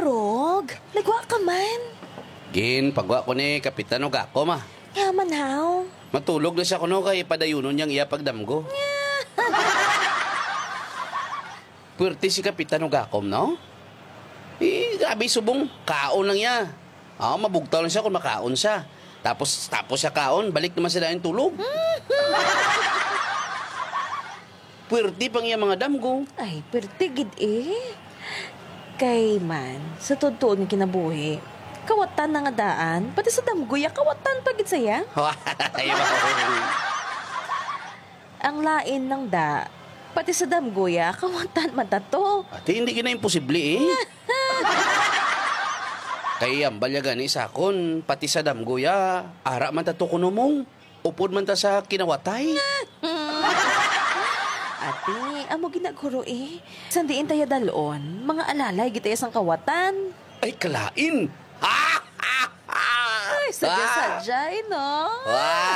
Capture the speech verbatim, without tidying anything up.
Rog, nagwa ka man. Gin, pagwa ko ni Kapitan Ugakom, ah. Nga man, haw? Matulog na siya kuno kay padayunon niyang iya pagdamgo. Puwerte si Kapitan Ugakom, no? Eh, grabe subong, kaon lang niya. Ah, mabugtaw lang siya kung makaon siya. Tapos, tapos siya kaon, balik naman sila yung tulog. Puwerte pang iya mga damgo. Ay, puwerte gid eh. Kay man, sa totoo nga kinabuhi, kawatan na nga daan, pati sa damgo ya, kawatan pa gid saya. Ay, wow. Ang lain nang da, pati sa damgo ya, kawatan man ta to. Ate, hindi gina imposible eh. Kay ang balya gani sa akon, pati sa damgo ya, ara man ta to kuno mong. Upod man ta sa kinawatay. Ate, amo ginaguro eh. San diin taya dalon, mga alalay gid taya sang kawatan. Ay, kalain. Ay, sadya-sadya eh, no? Ah!